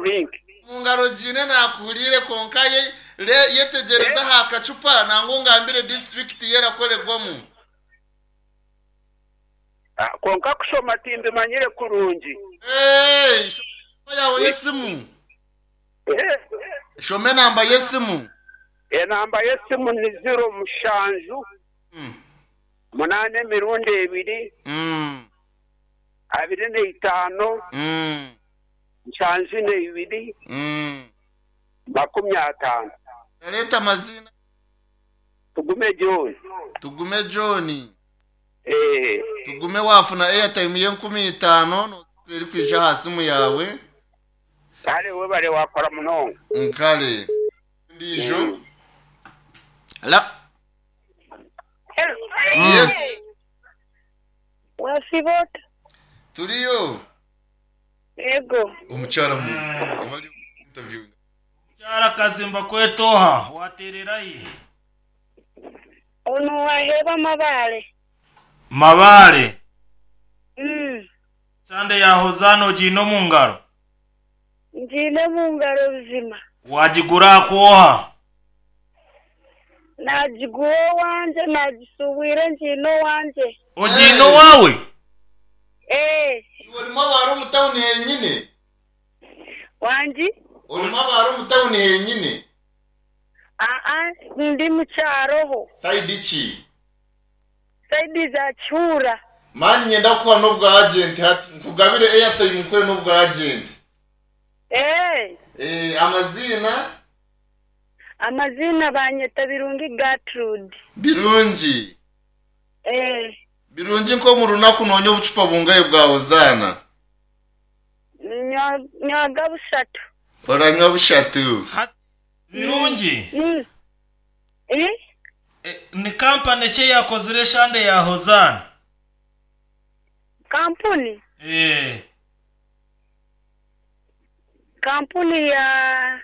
drink. Omu ngaro ogiine naakuhuriire kwonka yetegyereze aha kacupa nangwa ongambire disiturikiti ei erakoregwamu. Kwonka kushoma timbimanyire kurungi. Shoma enamba yaawe y'esimu. Shoma enamba y'esimu. Enamba y'esimu ni ziro mushanju munaana emirundi ebiri 25 72 50. Orareeta amaziina. Tugume John. Tugume John. Tugume waafuna airtime y'enkumi itaano nooza kureeba erikwija aha simu yaawe. Kare webare wakora munonga. Kare. Endiijo. Hello. Yes. Wasiiba ota? Turiyo. Yego. Omukyara mu bari interview. Omukyara Kazimba kweta oha? Wateerera hi? Onu waheebwa Mabaale. Mabaale? Sande ya Hozaana ogiine omu ngaro? Ngiine omu ngaro buzima. Waagigura aha ku oha? Naagigura owangye, naagishuubwire ngiine owangye. Ogiine owaawe? Ee. Iwe orimu abaara omu tawuni henyine? Wangi? Orimu abaara omu tawuni henyine? Aa, ndi mu kyaroho. Sayidi ki? Sayidi za Kihuura. Mani niinyenda kukuha n'obwa agenti hati. Nkugabire airtime nkuhe n'obwa agenti. Ee. Ee, amaziina? Amaziina banyeta Birungi Gertrude. Birungi? Ee. Birungi nk'omu runaku noonywa obucupa bungahi bwa Hozaana? Nywaga bushatu. Oranywa bushatu. Birungi? Ni kampani ki eyakozire eshande ya Hozaana? Kampuni? Ee. Kampuni ya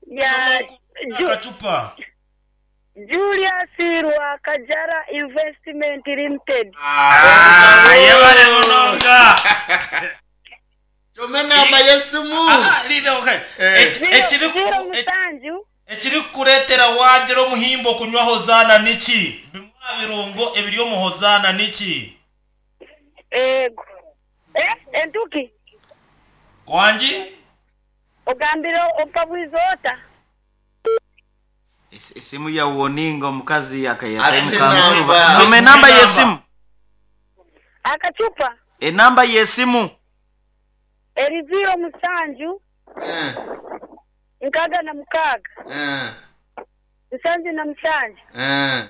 ya Shoma oku akacupa. Julius Rwakajara Investment Limited. Ah, yebare munonga. Shoma enamba y'esimu. Ah, linda okay. Eh. Ekiri Ziro musanju. Ekirikukureetera waagira omuhimbo kunywa Hozaana niki? Bimwe aha birungo ebiri omu Hozaana niki? Eego. Eh, entuki? Wangi? Ogambire okabwiza ota? Esimu ya woninga omukazi akayeta Atuhe mukamusuba. enamba. Soma enamba y'esimu. Akacupa? Enamba y'esimu. Eri ziiro musanju, 66, 77, 61,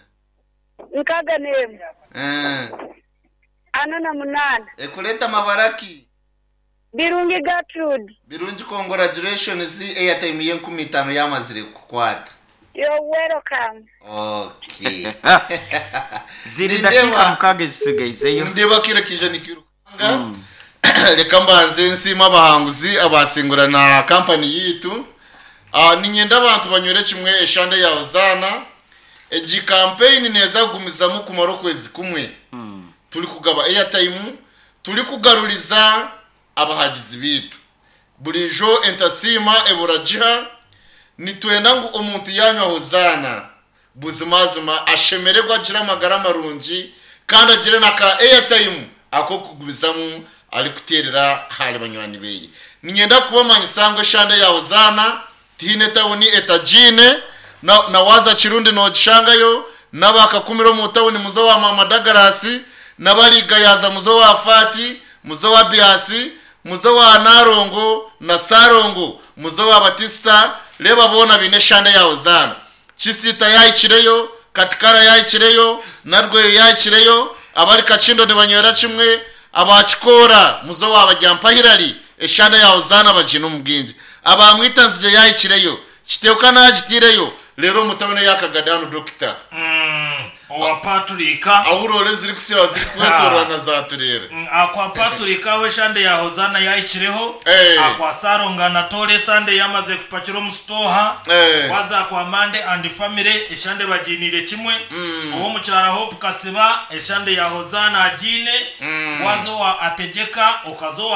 48. Ekureta mabara ki? Birungi Gertrude. Birungi congratulations airtime y'enkumi itaano yamazire kukukwata. You're welcome. Okay. Ziri dakiika mukaaga ezitsigaizeyo. Nindeeba akaire kaija nikairukanga. Reka mbanze nsiime abahanguzi abaasingura na kampani yaitu. Niinyenda abantu banywere kimwe eshande ya Hozaana. Egi kampeyini neeza kugumizamu kumara okwezi kumwe turikugaba airtime, turikugaruriza abahagizi baitu. Buriijo entasiima ebura giha, nitwenda ngu omuntu yaanywa Hozaana buzimazima ashemererwe agire amagara marungi kandi agire na ka airtime ak'okugumizamu arikuteerera ahari banywani beye. Niinyenda kubamanyisa ngu eshande ya Hozaana tihaine tawuni etagiine, na na waaza Kirundi noogishangayo, n'aba Kakumiro omu tawuni muze owa Maama Dagarasi, n'abari Gayaza muze owa Faati, muze owa Biasi, muze owa Nalongo na Salongo, muze owa Batisita, reeba boona baine eshande ya Hozaana. Kisiita yaahikireyo, Katikara yaahikireyo, Narweyo yaahikireyo, abari Kakindo nibanywera kimwe, aba Kikoora muze owa Baryampahirari, eshande ya Hozaana bagiine omu bwingi. Aba Mwitanzigye yaahikireyo, Kiteeka naagitaireyo, reero omu tauni eya Kagadi hanu Dokita. Owa Paturika. Ahu roore zirikusiiba zirikwetooroora zaatureera. Akwa Paturika ahu eshande ya Hozaana yaahikireho, akwa Sarongo Anatole esande yaamaze kupakira omu sitooha, waaza akwa Mande and Family eshande bagiiniire kimwe, ow'omukyara Hope Kasiba eshande ya Hozaana agiine, waaza owa Ategyeka okaza owa.